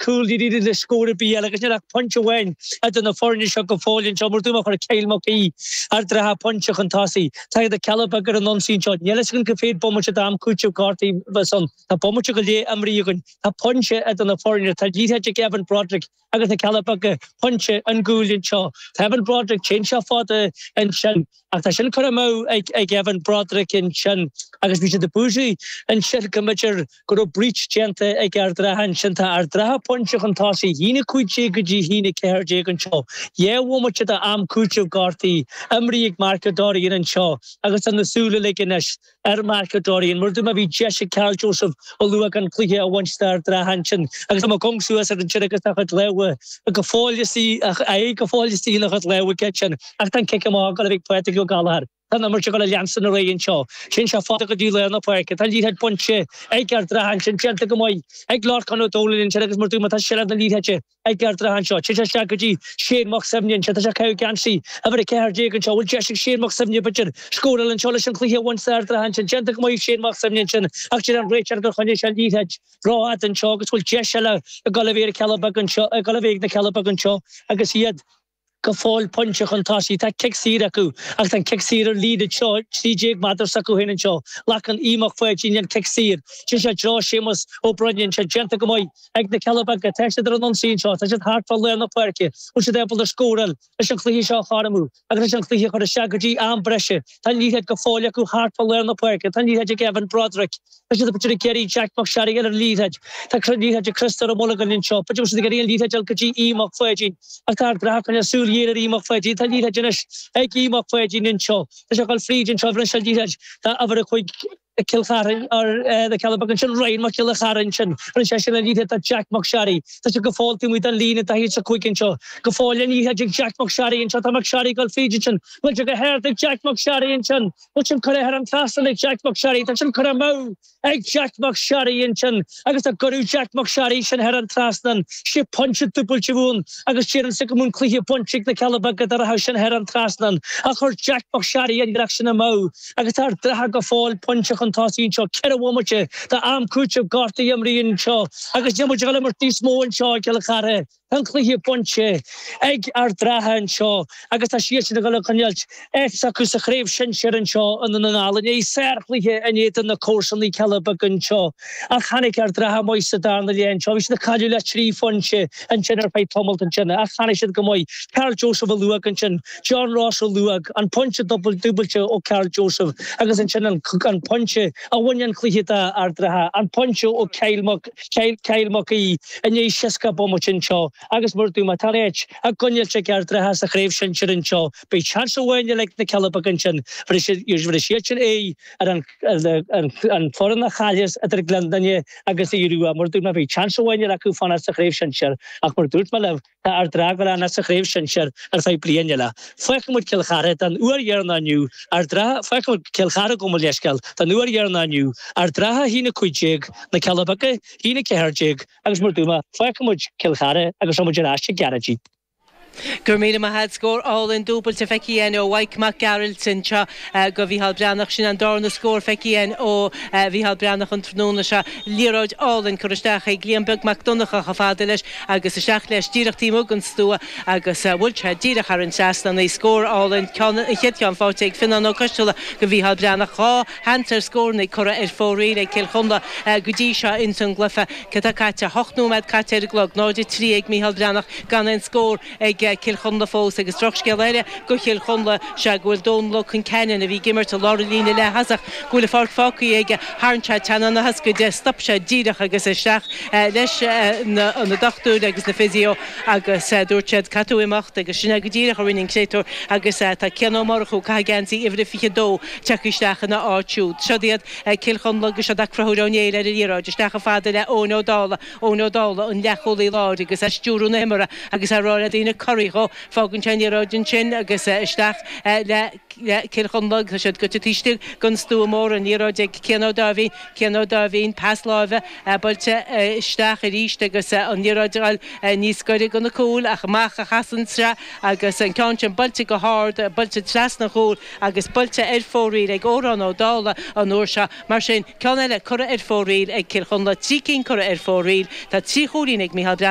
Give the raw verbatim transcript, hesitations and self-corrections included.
cúl iad le scór ar bith eile agus níl ach pointe amháin idir na foirne seo go fóill anseo mar dúirt mé chuir Kyle Mac Aoidh Ard an Rátha pointe chun tosaigh. Tá na Cealla Beaga ar an ionsaí anseo. Níl fhios againn cá mhéad bomaite d'am cúitimh gortaithe a bheas ann. Tá bomaite go leith imrithe againn. Tá pointe idir na foirne. Tá liathróid ag Evan Broderick agus na Cealla Beaga pointe ón gcúl anseo. Tá Evan Broderick téann sé fada ansin ach tá sin curtha amú ag ag Evan Broderick ansin agus bhí siad ag búisí ansin go mb'fhéidir go raibh breach déanta ag Ard an Rátha ansin. Tá Ard an Rátha pointe chun tosaigh, a haon a cúig déag go dtí a haon a ceathair déag anseo. Dhá bhomaite d'am cúitimh gortaithe imrithe ag Mark Dorrian anseo agus tá na súile uilig anois ar Mark Dorrian. Mar dúirt mé bhí deis ag Karl Joseph Ó Luaig an cluiche a bhaint d'Ard an Rátha ansin agus tá Mac suas ar ansin agus tá a chuid lámha go fóill istigh, a aghaidh go fóill istigh ina chuid lámha aige sin ach tá an cic amach ag dul a bheith ag Pádraig Ó Gallchóir. Tá an imirt ag dul a leanstan ar aghaidh anseo. Téann sé fada go dtí lár na páirce. Tá an liathróid bainte ag Ard an Rátha ansin, déanta go maith ag Lorcán Ó Dónaill ansin agus mar dúirt mé tá seilbh na liathróide ag Ard an Rátha anseo. Téann sé isteach go dtí Shane Mac Suibhne anseo. Tá sé ag caitheamh geansaí uimhir a ceathair déag anseo. Bhfuil deis ag Shane Mac Suibhne b'fhéidir scóráil anseo leis an chluiche a bhaint d'Ard an Rátha ansin. Déanta go maith ag Shane Mac Suibhne ansin ach deir an réiteoir gur choinnigh sé an liathróid rófhada anseo agus bhfuil deis eile ag dul a bheith ar Cealla Beaga anseo, ag dul a bheith ag na Cealla Beaga anseo agus iad go fóill pointe chun tosaigh. Tá cic saor acu agus tá an cic saor ar líne anseo, trí déag méadar s'acu féin anseo. Glacann Aodh Mac Pháidín an cic saor. Téann sé i dtreo Séamus Ó Broin anseo. Déanta go maith ag na Cealla Beaga. Tá siad ar an ionsaí anseo. Tá siad thart fá lár na páirce. Bhfuil siad ábalta scóráil leis an chluiche seo a chothromú agus leis an chluiche a chur isteach go dtí am breise. Tá an liathróid go fóill acu thart fá lár na páirce. Tá an liathróid ag Evan Broderick. Tá siad b'fhéidir ag iarraidh Jack Mac Searraigh ar an liathróid. Tá liathróid ag Criostóir Ó Mullagain anseo. B'fhéidir go bhfuil siad ag iarraidh an liathróid a fháil go dtí Aodh Mac Pháidín. Ach tá Ard an Rátha ag coinneáil súil ghéar ar Aodh Mac Pháidín. Tá an liathróid anois ag Aodh Mac Pháidín anseo. Tá sé ag dul fríd anseo. Bhronn sé an liathróid dá uimhir a cúig Cill Chartha ar na Cealla Beaga ansin. Ryan Mac Giolla Chara ansin. Rinne seisean an liathróid do Jack Mac Searraigh. Tá sé go fóill taobh amuigh den líne daichead is a cúig anseo. Go fóill an liathróid ag Jack Mac Searraigh anseo. Tá Mac Searraigh ag dul fríd ansin. Bhfuil sé go hard ag Jack Mac Searraigh ansin. Bhfuil sin curtha thar an trasnán ag Jack Mac Searraigh. Tá sin curtha amú ag Jack Mac Searraigh ansin agus dá gcuireadh Jack Mac Searraigh sin thar an trasnán, sé pointe dúbailte a bheadh ann agus déarfainnse go mbeadh an cluiche bainte ag na Cealla Beaga dá rachadh sin thar an trasnán. Ach chuir Jack Mac Searraigh an iarracht sin amú agus tá Ard an Rátha go fóill pointe chun tosaigh anseo, ceithre bhomaite d'am cúitimh gortaithe imrithe anseo agus níl muid ag dul imirt níos mó anseo i gCill Chartha. Tá an cluiche bainte ag Ard an Rátha anseo agus tá siadsan ag dul a choinneáilt áit s'acu sa chraobh shinsir anseo i nDún na nGall. Inné sárchluiche in éadan na comharsanaí Cealla Beaga anseo ach tháinig Ard an Rátha amuigh sa darna leath anseo. Bhí siad ag cailleadh le trí phointe ansin ar feadh tamalt ansin ach tháinig siad go maith. Karl Joseph Ó Luaig ansin, John Ross Ó Luaig, an pointe dúbailte ó Karl Joseph agus ansin an pointe a bhain an cluiche d'Ard an Rátha, an pointe ó Kyle Mac Kyle Mac Aoidh i ndiaidh seasca bomaite anseo. Agus mar dúirt mé, tá áit á coinneáilt ag Ard an Rátha sa chraobh shinsir anseo. Beidh seans amháin eile ag na Cealla Beaga ansin. Bhéarfaidh siad sin aghaidh ar an foireann a chaillfeas idir Gleann Fhinne agus Aodh Rua. Mar dúirt mé, beidh seans amháin eile acu fanacht sa chraobh shinsir. Ach mar dúirt mé libh, tá Ard an Rátha ag dul a fhanacht sa chraobh shinsir ar feadh bliain eile. Fágfaidh muid Cill Chartha don uair dheireanach inniu. Ard an Rátha, fágfaidh muid Cill Chartha gabh mo leithscéal, don uair dheireanach inniu. Ard an Rátha a haon a cúig déag, Na Cealla Beaga, a haon a ceathair déag. Agus mar dúirt mé, fágfaidh muid Cill Chartha agus tá muid ar ais i gCeathrú Go raibh míle maith agat. Scór álainn dúbailte feicthe againn ó Mhaidhc Mac Gearailt anseo go Mhícheál Breathnach. Sin an darna scór feicthe againn ó Mhícheál Breathnach an tráthnóna seo. Liathróid álainn curtha isteach ag Liam Beag Mac Donncha chomh fada leis agus isteach leis díreach taobh amuigh den stua agus bhuail sé díreach thar an trasnán í. Scór álainn, ceann, an chéad cheann faighte ag Fionnán Ó Coisteala go Mhícheál Breathnach. Dhá sheans ar scóranna curtha ar fóraoil ag Cill Chonla go dtí seo ins an gcluiche. Cad tá caite? Hocht nóiméad caite ar an gclog. Náid a trí ag Mícheál Breathnach gan aon scór ag Cill Chonla fós agus drochscéal eile go Chill Chonla sea go bhfuil Dónal Ó Conceanainn, a bhí ag imirt i lár an líne leath-thosach, go bhfuil an pháirc fágtha aige. Tharraing sé teannán na hioscaide, stop sé díreach agus isteach leis na dochtúirí agus na physio agus dúirt siad caithfidh tú imeacht agus sin é go díreach a rinne an créatúr agus tá Cian Ó Murchú, ag caitheamh geansaí uimhir a fiche dó, tagtha isteach ina áit siúd. Siod iad Cill Chonla agus siod Conchúr Ó Néill ar an liathróid, isteach chomh fada le Eoin Ó Dálaigh, Eoin Ó Dálaigh, an leathchúlaí láir agus é ag stiúradh na himeartha agus é ag rá le daoine corraigh dhó. Fágann sé an liathróid ansin agus isteach le Cill Chonla. Tá siad goite taobh istigh den stua mór, an liathróid ag Cian Ó Dáimhín, Cian Ó Dáimhín, pas láimhe buailte isteach arís agus an liathróid ag dul níos gaire do na cúil ach amach a chasann sé agus an ceann sin buailte go hard, buailte trasna an chúil agus buailte ar fóraoil ag Odhrán Ó Dálaigh an uair seo. Mar sin, ceann eile curtha ar fóraoil ag Cill Chonla, trí cinn curtha ar fóraoil. Tá trí chúilín ag Micheál Breathnach.